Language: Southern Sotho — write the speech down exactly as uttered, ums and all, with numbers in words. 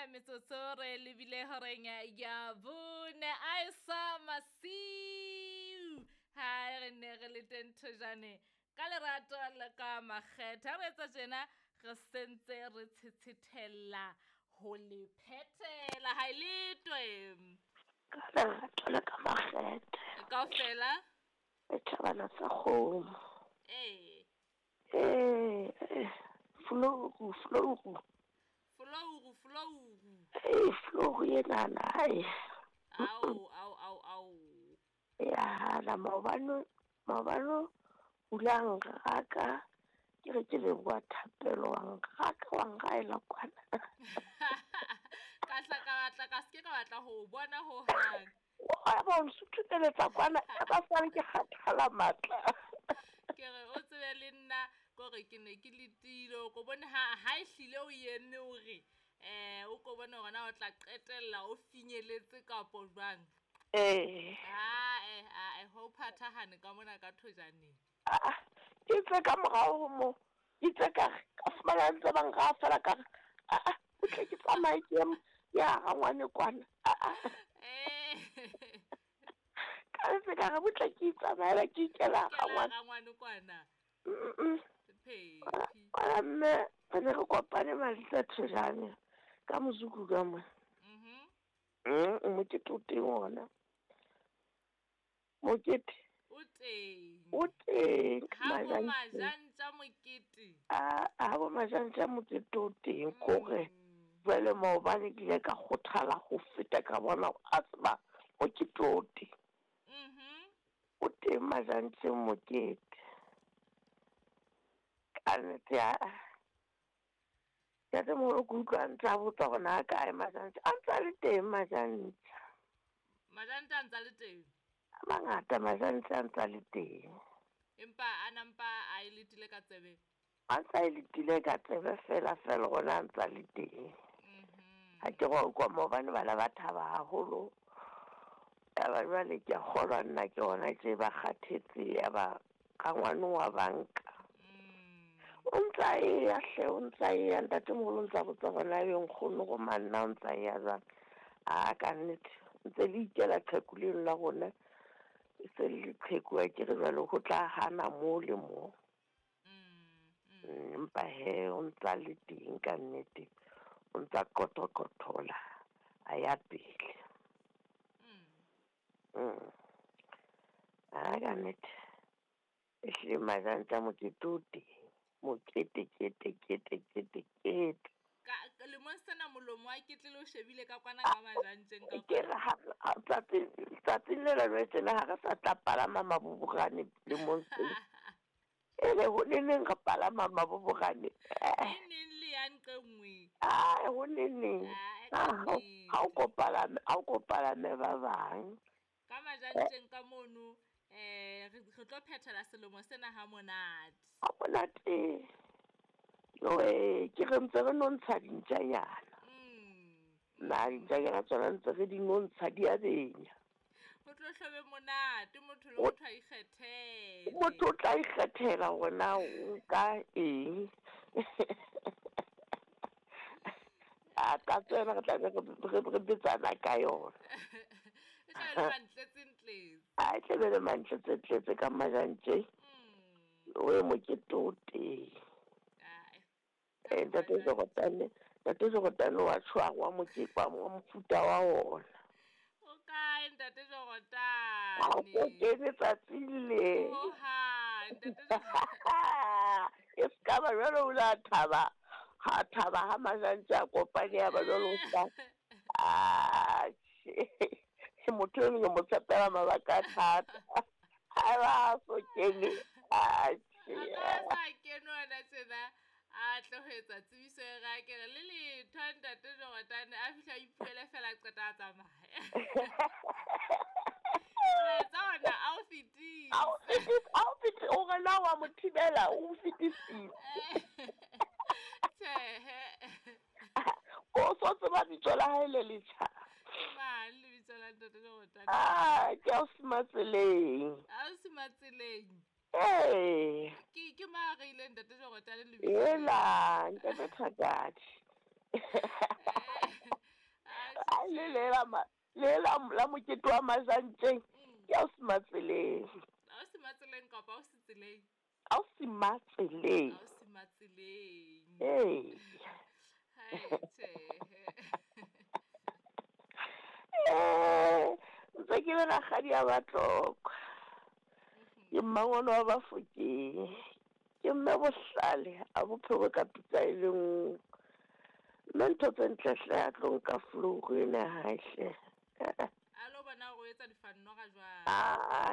Metsotso re lebile horeng ya bone a sa masiu ha re ne re le teng thojane ka lerato le ka makgethe. Ha re etsa tjena re sentse re tshetshethella ho le phethela ha e letwe. Ka lerato le ka makgethe. Kaofela? Le thabana sa kgomo. Ee. Ee, eh, flouru, flouru. Flouru, flouru. Ee, flouru enana, ai. Ao, ao, ao, ao. Ya hana maobane, maobane o la nraka, ke re ke leboha thapelo, wa nraka, wa nraela kwana. Ka hla ka batla, ka se ke ka batla ho o bona hohang. Wa ba o nsuthuteletsa kwana, ya ba sale ke kgathala matla. Ke re o tsebe le nna kore ke ne ke letile, o ko bone ha, ha ehlile o eme o re, eh, o ko bone hore na o tla qetella o finyeletse kapo jwang. Eh. Ae, ae, ho phathahane ka mona ka thojaneng. Ah, ke itse ka morao ho moo, ke itse ka re, ka fumana ntse ba nraha feela ka re, ah, ah, o tle ke tsamaye ke ye ya rangwane kwana. Ah, ah. Eh. Ka ntse ka re butle ke itsamaela ke ikela Ikela rangwane. rangwane kwana. Mm-mm. Phephi. Kwana mme re ne re kopane Malitsa Thojane ka mozuku ka mona. Mhm. Mm, mokete o teng ona. Mokete. O teng. O teng, Ha bo Majantja. Majantja mokete. Ah, ha bo Majantja mokete o teng, kore Mm. jwale maobane ke ile ka kgothala ho feta ka bona hore a tseba mokete o teng. Mhm. O teng Majantja mokete. Ka nnete ya, ntatemoholo ke utlwa a ntse a botsa hore na kae Majantja, a ntse a le teng Majantja. Majantja a ntse a le teng? A mangata Majantja a ntse a le teng. Empa a nampa a e letile ka tsebe? A ntse a e letile ka tsebe fela fela hore a ntse a le teng. Mhm. Ha ke re wa utlwa maobane bana ba thaba haholo. Ya ba jwale ke a kgolwa nna ke hona tje ba kgathetse ya ba rangwane wa banka. Mm. O ntse a eya hle, o ntse a eya ntatemoholo o ntse a botsa hore na ebe nkgono go manna o ntse a eya jwang. Ah, ka nnete ntse le ikela qheku leno la rona. E se le leqheku a ke re jwale ho tla hana moo le moo. Mm, mm. Mm, empa he o ntse a le teng ka nnete. O ntse a qotoqothola a ya pele. Mm. Mm. Ah, ka nnete. Ehlile Majantja mokete o teng. Mokete, kete, kete, kete, kete. Ka, ka lemong sena molomo wa ketlele o shebile ka kwana ka Majantjeng ka Ke re ha, ha, tsatsing, tsatsing le la jwale tjena ha re sa tla palama maboborane lemong sena. Ebe ho neneng re palama maboborane? E neng le ya nqe nngwe? Ai, ho neneng. Ah, Ah, ka ha o, ha o nnete. ko palame, ha o ko palame ba bang. Ka Majantjeng ka mono, eh, re, re tlo phethela selemo sena ha monate. Ha monate. Joe, ke re ntse re nontsha dintjanyana. Mm. Nna dintjanyana tsona ntse re di nontsha di a benya. Ho tlo hlobe monate, motho le O motho a ikgethele. Motho o tla ikgethela hore na o nka eng. A ka tsena re tla be re, re, re betsana ka yona. E tla be le mantletsentletse. A e tla be le mantletsentletse ka Majantjeng. Mm. O e mokete o teng. Ai. Eh, ntate Jorotane, ntate Jorotane wa tshwarwa mokete wa mofuta wa ona. O kae ntate Ha o Jorotane? kene tsatsing le. Hohang, ntate Jorotane. E se ka ba jwale o la thaba. Ha thaba ha Majantja a kopane ya ba jwale o sa. Ah, tjhe. Motho eno ke mo tshepela mabaka a thata. Ha ba so kene. Ah, tjhe. A ka ba sa kene hona tjena, a tle ho etsa tsebiso e re a ke re le letho ntate Jorotane a fihla a ipuele fela a qeta a tsamaya. Molaetsa ona a o fetise. A o fetise, a o fetise, o re na wa mo thibela, o fetisitse. Tjhehe. O so tseba bitso la hae le letjha. Ke mang lebitso la ntate Jorotane? Ah, ke ausi Matseleng. Ausi Matseleng. Ee. Ke, ke mang a reileng ntate Jorotane lebitso? Ela, ntate Thakadi. A le le la ma le la la mokete wa majantjeng Mm. ke ausi Matseleng. Ausi Matseleng kapa ausi Tseleng? Ausi Matseleng. Ausi Matseleng. Ee. Hai, tjhehe. Eh, ntse ke le rakgadi ya Batlokwa. Ke mmangwane wa Bafokeng. Ke mme bohlale a bophelo ka pitsa e le nngwe. Mme ntho tse ntle hle a tlo nka flouru ena hae hle. A lo bona hore o etsa difannoga jwang. Ah,